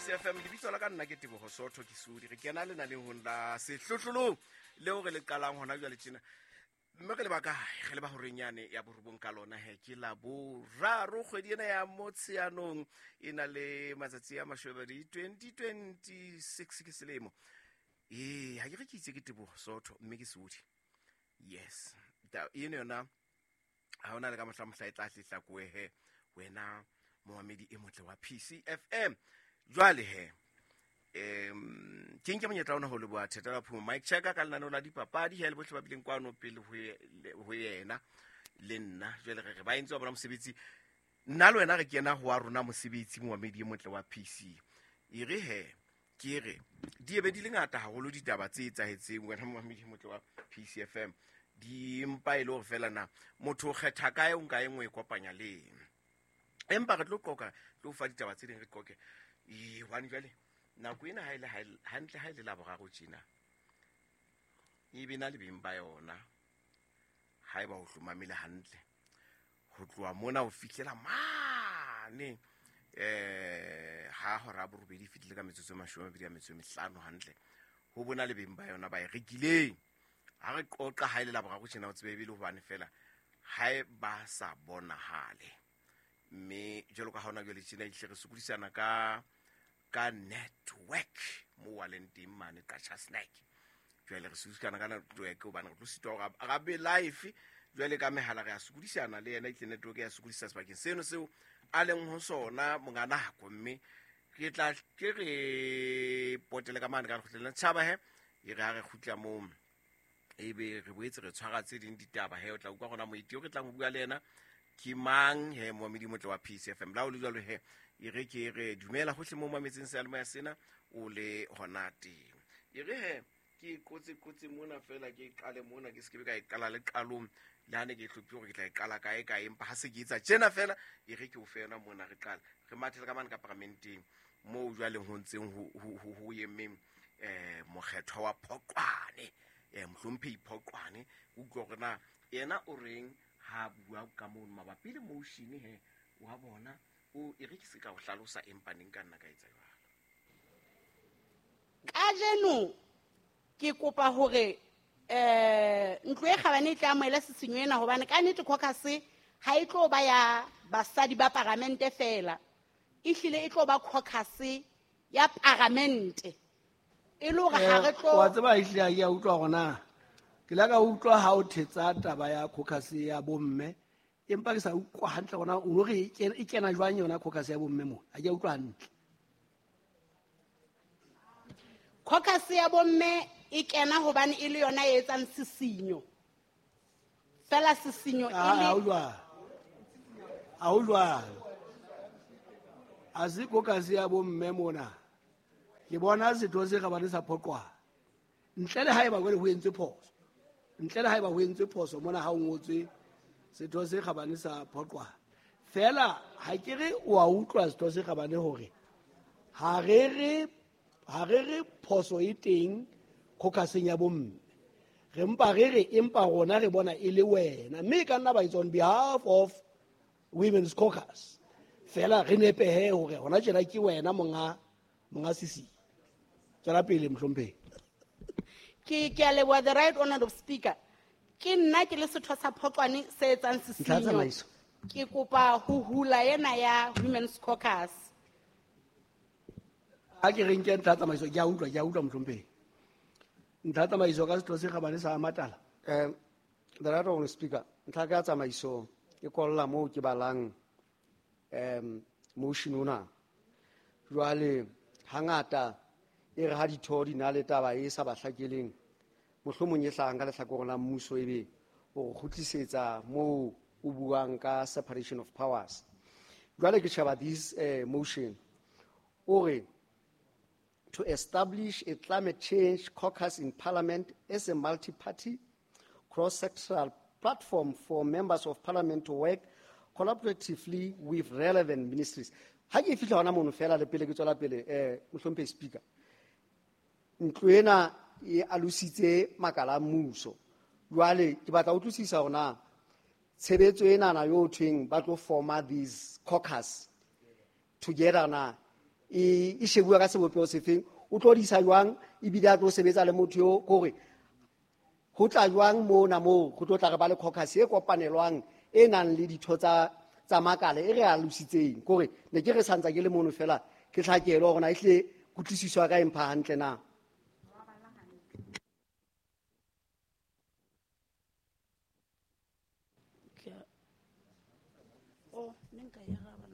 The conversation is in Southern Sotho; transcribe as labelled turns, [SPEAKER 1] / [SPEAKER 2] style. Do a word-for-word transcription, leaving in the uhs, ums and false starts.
[SPEAKER 1] P C F M. Lebitso la ka nna ke Teboho Sotho, ke Sudi. Re kena lenanehong la Sehlohlolong leo re le qalang hona jwale tjena, mme re le ba kae? Re le ba horeng yane ya borobong ka lona he. Ke la boraro kgwedi ena ya Motsheanong, e na le matsatsi a mashobedi, twenty twenty-six ke selemo. Ee, ha ke re ke itse ke Teboho Sotho, mme ke Sudi. Yes, eno yona ha hona le ka mohla mohla e tla hlehlakoe he, wena momamedi e motle wa P C F M. Jwale he, um ke nke monyetla ona ho leboha Theta la Phumo Mike Checker ka lenaneo la dipapadi he, le bohle ba bileng kwano pele ho yena le nna. Jwale re re ba entse wa bona mosebetsi. Nna le wena re kena ho wa rona mosebetsi, momamedi e motle wa P C. E re he, ke re di ebe di le ngata haholo ditaba tse etsahetseng, wena momamedi e motle wa P C F M, di mpa e le hore fela na motho o kgetha kae, o nka e nngwe e kopanya le eng. Empa re tlo qoka, tlo fa ditaba tse ding, re qoke. Ee, hobane jwale nako ena ha e le hantle, ha e le Laboraro tjena, e be na le beng ba yona. Ha eba o hlomamele hantle ho tloha mona ho fihlela mane eh ha hora ya borobedi e fetile ka metsotso e mashome a mabedi a metso e mehlano hantle, ho bona le beng ba yona ba e rekileng. Ha re qoqa ha e le Laboraro tjena, o tsebe ebile hobane fela ha e ba sa bonahale. Mme jwalo ka ha hona jwale tjena, ehlile re sokodisana ka ka network mo wa leng teng mane Qacha Snack. Jwale re sokodisana ka network hobane re tlo sitwa hore ra be live. Jwale ka mehala re a sokodisana le yena, itle network ya sokodisa sebakeng seno seo a leng ho sona, monga nako. Mme re tla ke re potele ka mane ka lekgotleng la setjhaba he. E re ha re kgutla moo, ebe re boetse re tshwara tse ding ditaba he. O tla utlwa rona moeti o re tlang ho bua le yena ke mang he, momamedi motle wa P C F M. La o le jwalo he, e re ke re dumela hohle mo mametseng seyalemoya sena o le hona teng. E re he, ke qotse qotse mona fela, ke qale mona, ke se ke be ka e qala le qalong le ha ne ke hlophile hore ke tla e qala kae kae, empa ha se ke etsa tjena fela, e re ke o fe yona mona. Re qala re mathele ka mane ka paramenteng moo jwale ho ntseng ho emeng um mokgethwa wa Phoqwane, um mohlomphehi Phoqwane. Utlwa hore na yena o reng ha bua ka mono mabapi le motion he wa bona o. E re ke se ka o hlalosa, empa neng ka nna ka etsa jwalo.
[SPEAKER 2] Kajeno ke kopa hore eh ntlo e kgabane e tla amohela sisinyo ena, hobane ka nnete caucus ha e tlo ba ya basadi ba paramente fela, ehlile e tlo ba caucus ya paramente, e le hore ha re tlo
[SPEAKER 3] Wa tseba, ehlile ha ke a utlwa hore na ke la ka utlwa ha o thetsa taba ya caucus ya bomme, empa ke sa utlwa hantle hore na o no re e kena jwang yona caucus ya bomme mo. Ha ke a utlwa hantle.
[SPEAKER 2] Caucus ya bomme e kena hobane e le yona e etsang sisinyo fela, sisinyo e
[SPEAKER 3] Ha
[SPEAKER 2] le
[SPEAKER 3] o jwalo, ha o jwalo, ha se caucus ya bomme mona. Ke bona setho se kgabane sa Phoqwana, ntle le haeba jwale ho entswe phoso, ntle le haeba ho entswe phoso mona ha o ngotswe setho se kgabane sa Phoqwana fela. Ha ke re o a utlwa, setho se kgabane, hore ha re re ha re re phoso e teng caucuseng ya bomme. Re mpa re re empa rona re bona e le wena, mme e ka nna ba it's on behalf of women's caucus fela. Re nepehe hore hona tjena ke wena monga monga sisi. Tswela pele, mohlomphehi.
[SPEAKER 2] ke ke a leboha, the Right Honorable Speaker. Ke nna ke le setho sa Phoqwane se etsang
[SPEAKER 4] Ntlha ya
[SPEAKER 2] sisinyo.
[SPEAKER 4] Tsamaiso.
[SPEAKER 2] Ke kopa ho hula ena ya women's caucus.
[SPEAKER 3] Ha ke re nke ntlha ya tsamaiso. Ke a utlwa, ke a utlwa, mohlomphehi. Ntlha ya tsamaiso ka setho se kgabane sa Matala.
[SPEAKER 4] Um, the Right Honorable Speaker, ntlha ka tsamaiso e kolla moo ke balang um motion ona. Jwale hangata e re ha ditho di na le taba e sa ba hlakeleng, mohlomong e hlahang ka lehlakoreng la mmuso, ebe o re kgutlisetsa moo o buang ka separation of powers. Jwale ke sheba this uh, motion o re to establish a climate change caucus in parliament as a multi-party cross-sectoral platform for members of parliament to work collaboratively with relevant ministries. Ha ke fihla hona mono fela, le pele ke tswela pele, eh mohlomphehi Speaker, ntlo ena e alositse makala a mmuso. Jwale ke batla ho utlwisisa hore na tshebetso enana yo thweng ba tlo forma this caucus together na e e shebuwa ka sebopeho sefeng, o tlo di isa jwang, ebile a tlo sebetsa le motho eo, kore ho tla jwang mona moo go tlo tla re ba le caucus e kopanelwang e nang le ditho tsa tsa makala e re alositseng. Kore ne ke re santsa ke le mono fela ke tlhakelo hore na ehlile kutlwisiso ya ka e mpha hantle na.
[SPEAKER 2] Oh, ne nka e araba.